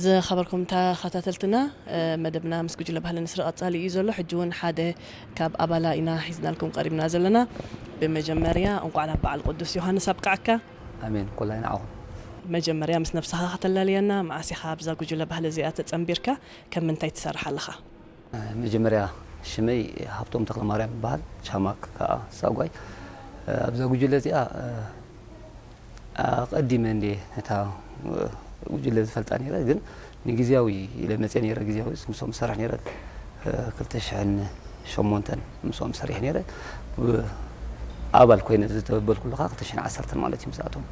ዝኸበርኩም ተኸታተልትና፣ መደብና ምስ ጉጅለ ባህልን ስነ-ጥበብን ቀጻሊ እዩ ዘሎ። ሕጂ እውን ሓደ ካብ ኣባላ ኢና ሒዝናልኩም ቀሪብና ዘለና። ብመጀመርያ እንኳዕ ናብ በዓል ቅዱስ ዮሃንስ ኣብቃዓካ። ኣሜን። ኩላይ ንዓኹም። መጀመርያ ምስ ነብስኻ ከተላልየና፣ መዓስ ኢኻ ኣብዛ ጉጅለ ባህሊ እዚኣ ተጸንቢርካ? ከም ምንታይ ትሰርሕ ኣለኻ? መጀመርያ ሽመይ ሃብቶም ተክለማርያም ይበሃል፣ ቻማክ ከዓ ሳጓይ። ኣብዛ ጉጅለ እዚኣ ኣቐዲመ እንዴ እታ ጉጅለ ዝፈልጣ ነይረ፣ ግን ንግዜያዊ ኢለ መፅየ ነይረ። ግዜያዊ ምስኦም ዝሰርሕ ነይረ። ክልተ ሽሕን ሸሞንተን ምስኦም ሰሪሕ ነይረ። ኣባል ኮይነ ዝተበልኩሉ ከዓ ክልተ ሽሕን ዓሰርተን ማለት እዩ ምስኣቶም።